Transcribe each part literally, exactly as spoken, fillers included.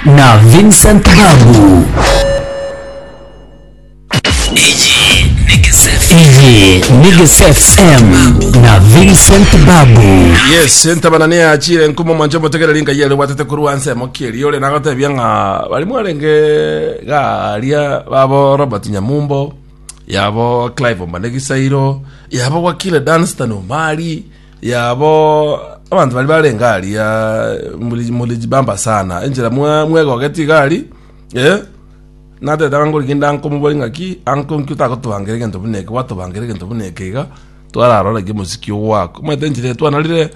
Na Vincent Babu. Iyi ni Gese F M na Vincent Babu. Yes, entabana neyachire nkumo mwanche omotegereri nkai ere bwatete korwa nsemo kieri ore nagotebia ng'a bari mwarenge garia babo Robert Nyamumbo, yabo Clive Omane Gisairo, yabo Wakile Danstan Omari, yabo abanto bari barenge aria mulijibamba sana enchera mwegogeti igari eh natete ngoriginda nkomobori ng'aki anko nki otagotobangera egento buna eke gwatobangera egento buna eke iga twararora ki omosiki ogwaka omanyete enchera twanarire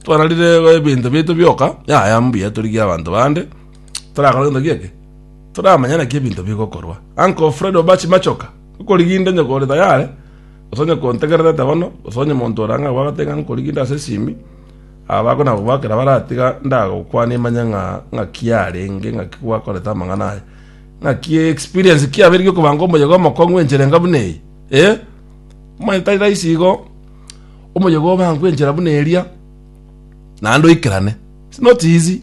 twanarire ebinto biaito bioka yaya mbuya torigia abanto bande torakora gento gieke toramanya naki ebinto bigokorwa. Uncle Fred Obachi Machoka okoriginda onye kore tayari gose onye kontegererete bono gose onye monto orang'a gwagatenga nkoriginda ase esimi aba bakona gobakera baratiga ndagokwana imanye ng'a ng'aki yarenge ng'aki gwakorete amang'ana aya ng'aki experience kiabere giokobanga omoyega omokong'u enchera enga buna eye eh omanye tari rahisi igo omoyega obangwe enchera buna eria naende oikerane. It's not easy,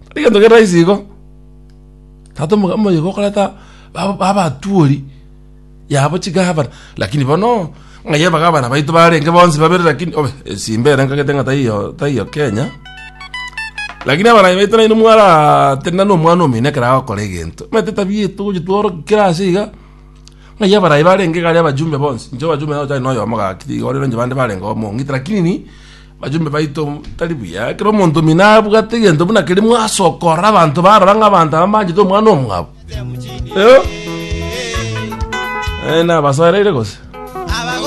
tari gento kere rahisi igo tata omoyega okoreta babatwori yabo chigavana, lakini bono ng'ai abagavana baito barenge bonsi babere, lakini obe esimba ere nkagete ng'a taiyo taiyo Kenya, lakini abarai baito naino mwaratenena na omwana omino ekero agokora egento omanyete tabia etogochi tworokia kera ase iga ng'ai abarai barenge iga aria abajumbe bonsi inche abajumbe nabo tari na oyomo gaki igo rero inche bande barenge omong'iti, lakini bajumbe baito tari buya ekero omonto omino abwate egento buna keria mwasokora abanto barora ng'a abanto aba mbanchete omwana omwabo eh eh nabasoereire gose.